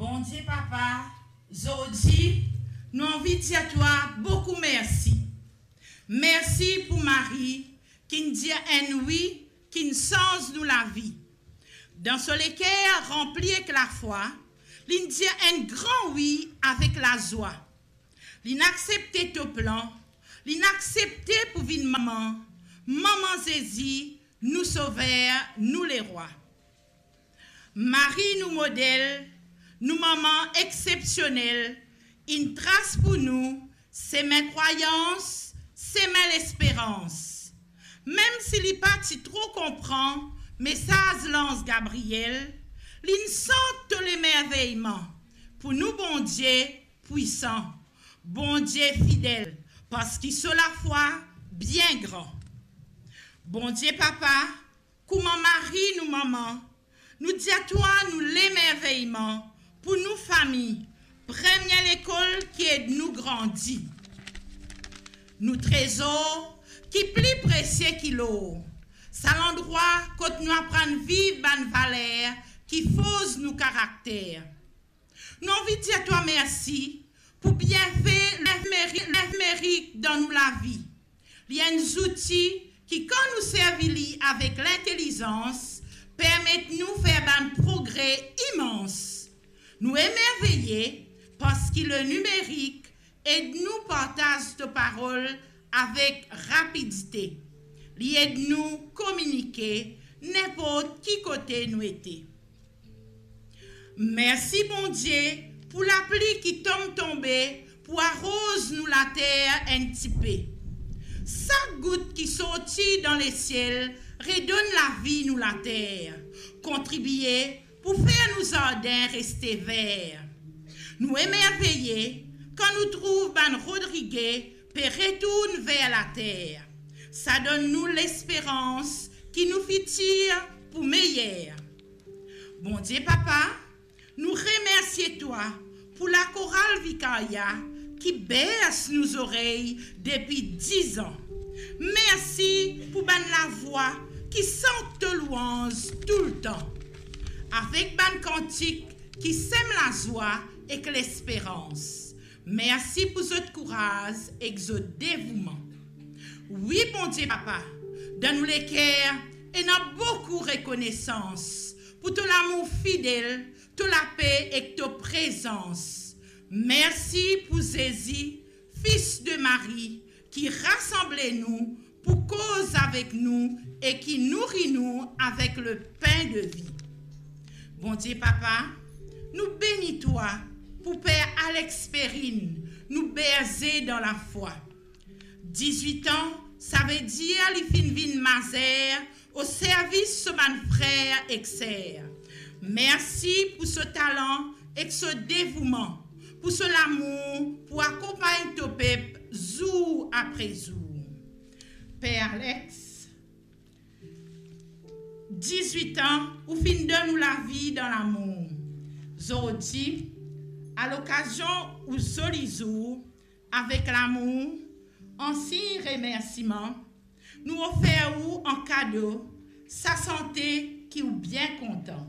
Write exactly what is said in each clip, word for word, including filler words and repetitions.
Bondie Papa, zordi nou anvi dir twa boukou mersi. Mersi pou Marie ki'nn dir enn wi ki'nn sanz nou lavi. Dan so leker ranpli ek lafwa, li'nn dir enn gran wi avek lazwa. Li'nn aksepte to plan, li'nn aksepte pou vinn mama, Mama Zezi, nou Sover, nou Lerwa. Marie nou model, nou mama exepsionel, inn tras pou nou sime krwayans, sime lesperans. Mem si li pa ti tro konpran mesaz lanz Gabriel, li'nn sant to lemerveyman pou nou Bondie pwisan, Bondie fidel, parski so lafwa bien gran. Bondie Papa, kouma Marie nou mama, nou dir twa nou lemerveyman pou nou fami, premie lekol ki ed nou grandi. Nou trezor ki pli presie ki lor, sa landrwa kot nou aprann viv bann valer ki forz nou karakter. Nou anvi dir twa mersi pou bienfe limerik dan nou lavi. Li enn zouti ki, kan nou servi li avek lintelizans, permet nou fer bann progre imans. Nou emerveye parski lenimerik ed nou partaz to parol avek rapidite. Li ed nou kominike ninport ki kote nou ete. Mersi Bondie pou lapli ki tom tonbe pou aroz nou later enn tipe. Sak gout ki sorti dan lesiel redonn lavi nou later, kontribie pou fer nou zardin reste ver. Nou emerveye kan nou trouv bann Rodrige pe retourn ver later. Sa donn nou lesperans ki nou fitir pou meyer. Bondie Papa, nou remersie twa pou lakoral Vikarya ki bers nou zorey depi diz an. Mersi pou bann lavwa ki sant to lwanz toultan, avek bann kantik ki sem lazwa ek lesperans. Mersi pou zot kouraz ek zot devouman. Wi, Bondie Papa, dan nou leker ena boukou rekonesans pou to lamour fidel, to lape ek to prezans. Mersi pou Zezi, Fis de Marie, ki rasanble nou pou koz avek nou e ki nouri nou avek lepin de vi. Bondie Papa, nou beni twa pou Per Alex Perrine, nou berze dan lafwa. Dizwit an, savedir li finn vinn mazer o servis so bann frer ek ser. Mersi pou so talan ek so devouman, pou so lamour pou akonpagn to pep zour apre zour. Per Alex, dizwit an, ou finn donn ou lavi dan lamour. Zordi, a lokazion ou zoli zour, avek lamour, an sign remersiman, nou ofer ou an kado sa sante ki ou bien kontan.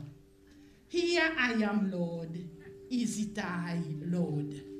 Here I am, Lord, is it I, Lord.